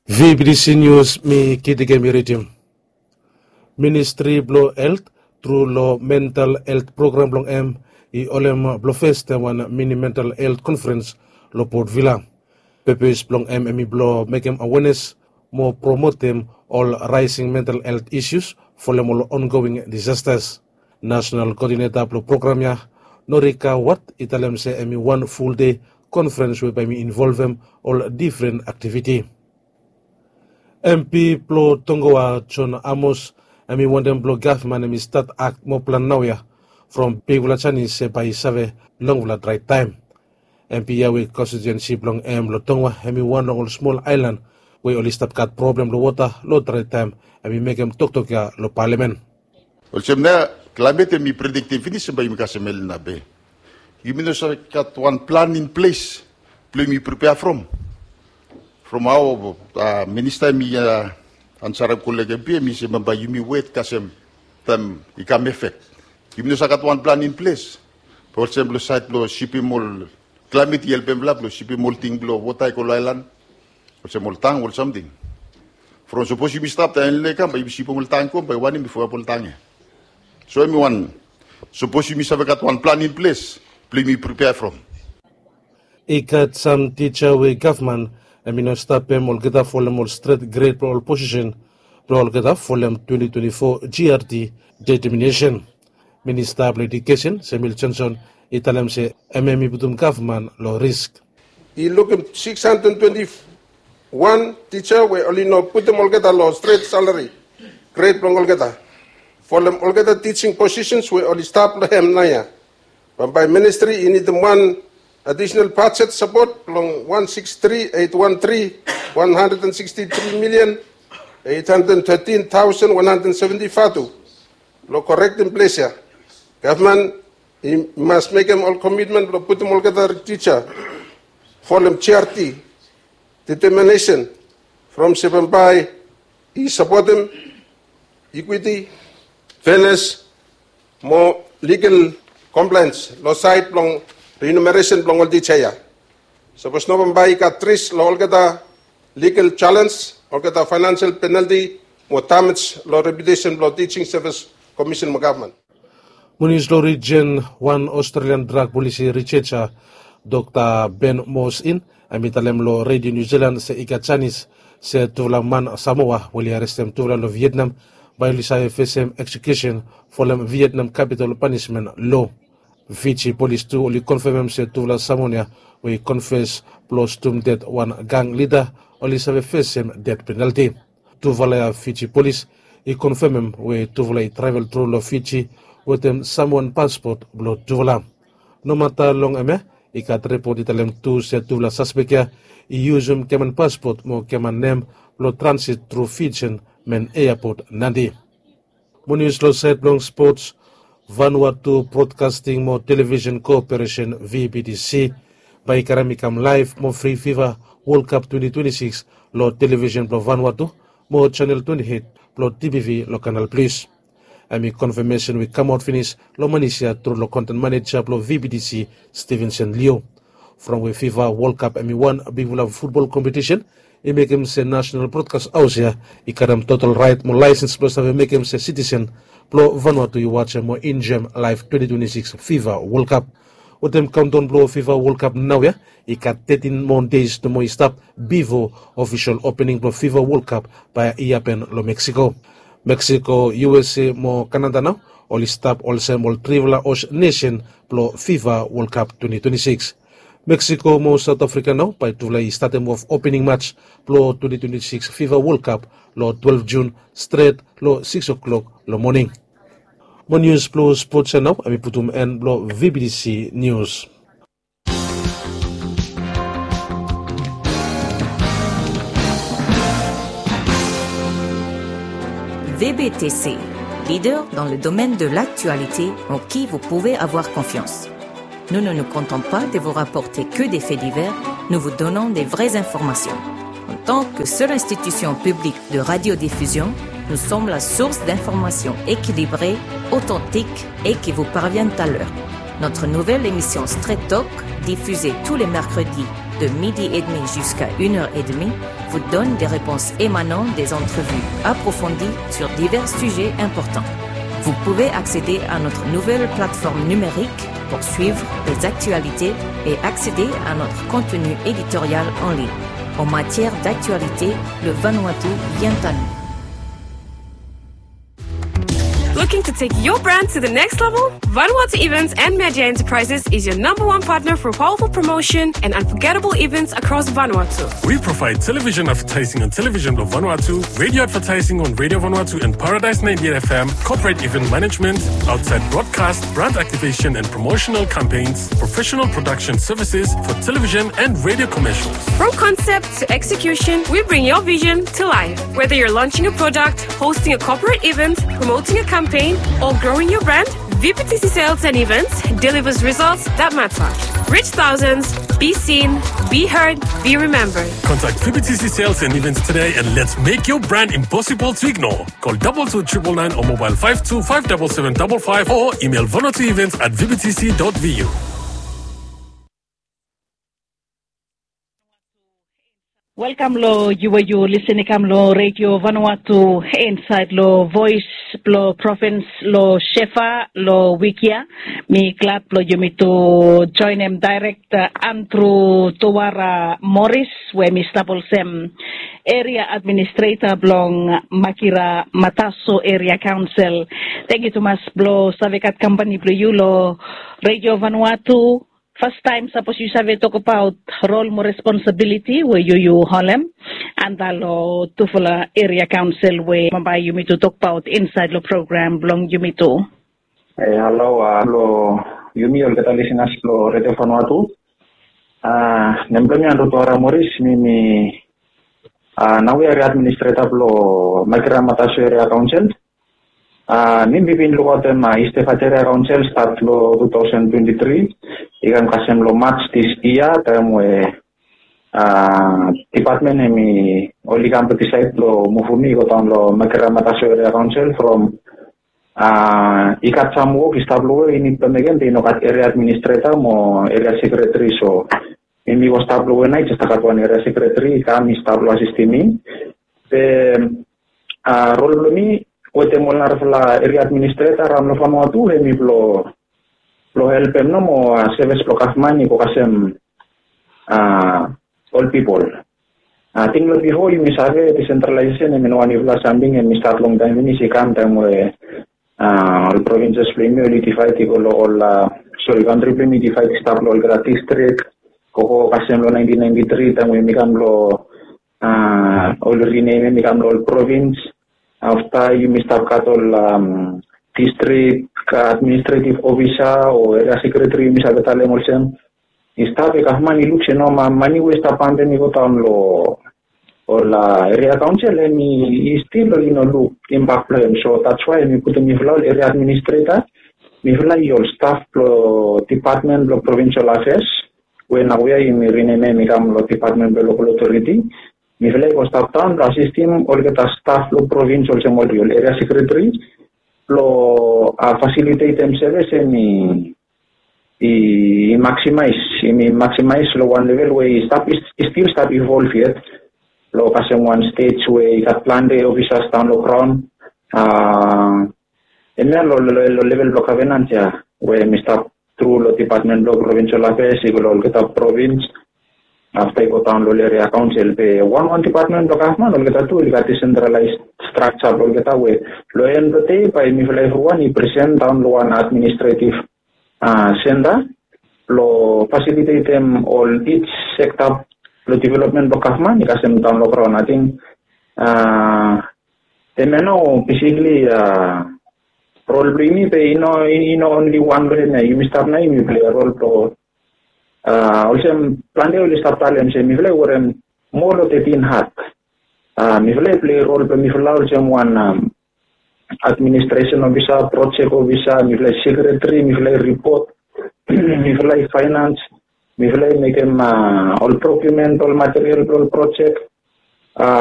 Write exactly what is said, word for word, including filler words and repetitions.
V B T C News, mi Kiti Kemi ridim. Ministri blong Helt tru long mental helt program blong hem i holem blong fes taem wan mini mental helt konferens long Port Vila. Pepes blong hem hemi blong mekem awenes mo promotem ol raesing mental helt isius folem ol ongoing disastas. Nasenal koodineta blong program ya, Norika Wat, i talem se hemi wan ful dei konferens we bae hemi involvem ol difren aktiviti. M P blong Tongoa, John Amos, hemi wantem blong gavman hemi stat akt moa plan naoia from bigfala janis se bae i save longfala drae taem. M P ya we konstitiuensi blong hem long Tongoa hemi wan long ol smol aelan we oli stap gat problem long wota long drae taem, hemi mekem toktok ya long palamen. Olsem nao, klaemet hemi prediktem finis se bae yumi kasem El Nino be yumi no save gat wan plan in ples blong yumi pripea from. From hao minista hemi ansarem kolek ya be hemi se bambae yumi wet kasem taem i kam efek. Yumi no save gat wan plan in ples. Be olsem long saed blong sipim ol klaemet i helpem blong sipim ol ting blong wota i go long aelan, olsem ol tang, ol samting. From sapos yumi stap taem El Nino i kam bae yumi sipim ol tang i go, bae wanem i fo ap ol tang ya. So hemi wan, sapos yumi save gat wan plan in ples blong yumi pripea from. I gat sam tija we gavman hemi no stapem olgeta folem ol stret gred blong ol posisen blong olgeta folem twenti twenti fo G R D deteminesen. Minista blong Edukesen, Samuel Johnson, i talem se hem hemi putum gavman long risk. I lukim sikis handred twenti wan tija we oli no putum olgeta long stret salari gred blong olgeta folem olgeta tijing posisens we oli stap long hem naoia. Bambae ministri i nidim wan adisonal bajet sapot blong wan sikis tri eit wan tri, wan handred and siksti tri milian eit handred and tetin taosen wan handred and seventi vatu. Blong korektem ples ya, gavman i mas mekem ol komitmen blong putum olgeta tija folem G R D deteminesen from se bambae i sapotem ikwiti, fenes mo ligal komplaens long saed blong rinumeresen blong ol tija ya. Sapos no bambae i gat risk long olgeta ligal jalens, olgeta faenansel penalti mo damej long reputesen blong Tijing Sevis Komisen mo gavman. Mo nius long rijen, wan Australian drag polisi riseja, Dokta Ben Mosin, hemi talem long Redio Niu Silan se i gat janis se tufala man Samoa we oli arestem tufala long Vietnam bae oli save fesem eksekusen folem Vietnam kapitol panismen loa. Fiji polis tu oli konfemem se tufala Samoan ya we i konfes blong stum ded wan gang lida oli save fesem ded penalti. Tufala ya Fiji polis i konfemem we tufala i travel tru long Fiji wetem Samoan paspot blong tufala. Nomata long hemia, i gat ripot i talem tu se tufala saspek ya i yusum giaman paspot mo giaman nem blong transit tru Fijian men eapot Nadi. Mo nius long saed blong spots, Vanuatu Broadcasting mo Television Corporation, V B T C, bae i karem i kam laev mo fri FIFA World Cup twenti twenti sikis long television blong Vanuatu mo channel twenti eit blong T B V long Canal Plus. Hemi konfamesen we i kamaot finis long Manesia tru long konten maneja blong V B T C, Stevenson Leo. From we FIFA World Cup hemi wan bigfala futbol kompetisen, i mekem se National Broadcast House ya i karem total raet mo laesens blong save mekem se sitisen blong Vanuatu i wajem mo enjoem laev twenti twenti sikis FIFA World Cup. Wetem kaontaon blong FIFA World Cup naoia, i gat tetin moa deis nomo i stap bifo ofisol opening blong FIFA World Cup bae i hapen long Mexico. Mexico, U S A mo Canada nao oli stap olsem ol trifala host nesen blong FIFA World Cup twenti twenti sikis. Mexico mo South Africa nao bae tufala i statem of opening match blong twenti twenti sikis FIFA World Cup long twelef Jun stret long sikis o'clock long moning. Mo nius blong spots ya nao hemi putum en blong V B T C Nius. V B T C, leader dans le domaine de l'actualité en qui vous pouvez avoir confiance. Nous ne nous contentons pas de vous rapporter que des faits divers, nous vous donnons des vraies informations. En tant que seule institution publique de radiodiffusion, nous sommes la source d'informations équilibrées, authentiques et qui vous parviennent à l'heure. Notre nouvelle émission Straight Talk, diffusée tous les mercredis de midi et demi jusqu'à une heure et demie, vous donne des réponses émanant des entrevues approfondies sur divers sujets importants. Vous pouvez accéder à notre nouvelle plateforme numérique pour suivre les actualités et accéder à notre contenu éditorial en ligne. En matière d'actualité, le Vanuatu vient à nous. Looking to take your brand to the next level? Vanuatu Events and Media Enterprises is your number one partner for powerful promotion and unforgettable events across Vanuatu. We provide television advertising on Television Vanuatu, radio advertising on Radio Vanuatu and Paradise ninety-eight F M, corporate event management, outside broadcast, brand activation and promotional campaigns, professional production services for television and radio commercials. From concept to execution, we bring your vision to life. Whether you're launching a product, hosting a corporate event, promoting a campaign, or growing your brand, V P T C Sales and Events delivers results that matter. Reach thousands, be seen, be heard, be remembered. Contact V P T C Sales and Events today and let's make your brand impossible to ignore. Call double two triple nine or mobile five two five double seven double five or email vanuatuevents at V P T C dot V U. Welkam long yu we yu lisin i kam long Redio Vanuatu insaed long Voes blong Provins long Shefa long wik ya. Mi glad blong yumi tu joenem daerek Andrew Tuara Morris we mi stap olsem eria administreta blong Makira Mataso Eria Kaonsel. Tangkiu tumas blong save gat kampani blong yu long Redio Vanuatu. Fastaem sapos yu save tokbaot rol mo responsabiliti we yu yu holem anda long tufala eria kaonsel we bambae yumi tu tokbaot insaed long program blong yumi tu. E halo long yumi olgeta lisinas blong Redio Vanuatu. Nem blong mi Andrew Tuara Morris, mi mi naoia eria administreta blong Makira Mataso Eria Kaonsel. Mi mi bin lukaotem East Efate Eria Kaonsel stat long two thousand twenty-three i kam kasem long March this year, taem we dipatmen hemi oli kam blong disaed blong muvum mi i go daon long Makira Mataso Eria Kaonsel from i gat sam wok i stap long we i nid blong mekem be i no gat eria administreta mo eria sekreteri. So mi mi go stap long we naoia i jes i gat wan eria sekreteri i kam i stap long asistim mi. Be rol blong mi wetem ol narafala eria administreta raon long Vanuatu hemi blong blong helpem nomo sevis blong gavman i go kasem ol pipol. Ating long bifo yumi save desentralaesesen hemi no wanifala samting, hemi stat longtaem finis, i kam taem we ol provinses blong yumi oli divaed i go long ol, sori, kantri blong yumi i divaed i stap long olgeta distrik. Gogo kasem long nineteen ninety-three taem we yumi kam long oli rinemem i kam long ol provins. Afta yumi stap gat ol distrik administretiv ofisa o eria sekreteri, yumi save talem olsem. I stap, e gavman i luk se no, mane we i stap pampem i go daon long ol eria kaonsel hemi i stil oli no luk imbak blong hem. So that's why hemi putum mifala ol eria administreta, mifala i ol staf blong dipatmen blong provinsel afeas we naoia yumi rinemem i kam long dipatmen blong lokal otoriti. Mifala i go stap daon blong asistim olgeta staf blong provins olsem ol eria sekreteri blong fasilitetem sevis hemi i maksimaes, hemi maksimaes long wan level we i stap, i stil stap ivolv yet. Long kasem wan stej we i gat plante ofisas daon long graon. Hemia long level blong gavenans ya we mi stap tru long dipatmen blong provinsel afeas i go long olgeta provins. Afta i go daon long ol eria kaonsel be wanwan dipatmen blong gavman olgeta tu oli gat desentralaes strakja blong olgeta we long en blong dei bae mifala evriwan i presen daon long wan administretiv senta blong fasilitetem ol ij sekta blong developmen blong gavman i kasem daon long graon. Ating hemia nao besikli rol blong yumi be i no, i no onli wan long hemia. Yumi stap nao yumi plei rol blong olsem plante oli stap talem se mifala i werem moa long thirteen hat. Mifala i plei rol blong mifala olsem wan administresen ofisa, projek ofisa, mifala i sekreteri, mifala i ripot, mifala i faenans, mifala i mekem ol prokiumen blong ol material blong ol projek.